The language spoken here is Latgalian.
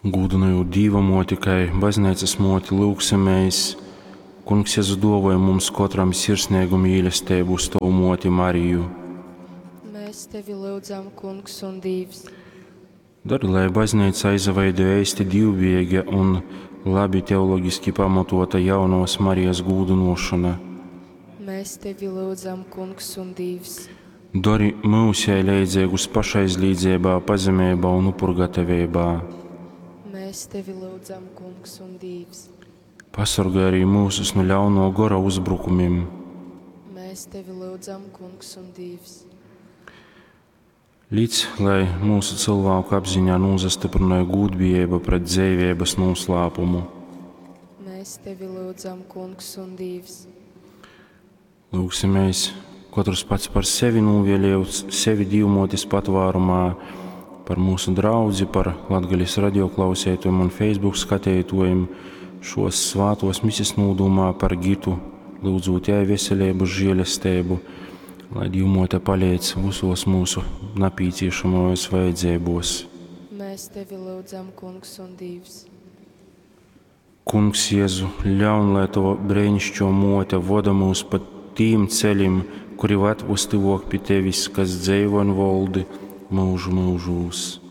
Gūdynojūt Dīva Muoti kai Bazneicys muoti, lyugsimēs, Kungs Jezu, duovoj mums kotram sirsneigu mīlesteibu uz Tovu muoti Mariju. Mēs tevi lyudzam, Kungs un Dīvs. Dori, lai Bazneicā izaveidoj eisti dīvbijeiga un labi teologiski pamatuota Jaunovys Marijas gūdynuošona. Mēs tevi lyudzam, Kungs un Dīvs. Dori myus jai leidzeigus pašaizlīdzeibā, pazemeibā un upurgataveibā. Mēs tevi lyudzam, Kungs un Dīvs. Pasorgoj arī myusus nu ļaunuo gora uzbrukumim. Mēs tevi lyudzam, Kungs un Dīvs. Lic, lai myusu cylvāku apziņā nūsastyprynoj gūdbijeiba pret dzeiveibys nūslāpumu. Mēs tevi lyudzam, Kungs un Dīvs. Lyugsimēs, kotrs pats par sevi nūvielejot sevi Dīvmuotis patvārumā, par myusu draudzi, par Latgales radioklausētojiem un Facebook skateituojim, šos svātos misis nūdūmā par Gitu, lyudzūt jai veseleibu, žielesteibu, lai Dīvmuote paleidz visos mūsu napīciešamajos vajadzeibos. Mēs tevi lyudzam, Kungs un Dīvs. Kungs Jēzu, ļaun, lai Tova breinišķo muote voda mūs pa tīm ceļim, kuri vad vystyvuok pi Tevis, kas dzeivo un voldi mūžu mūžūs.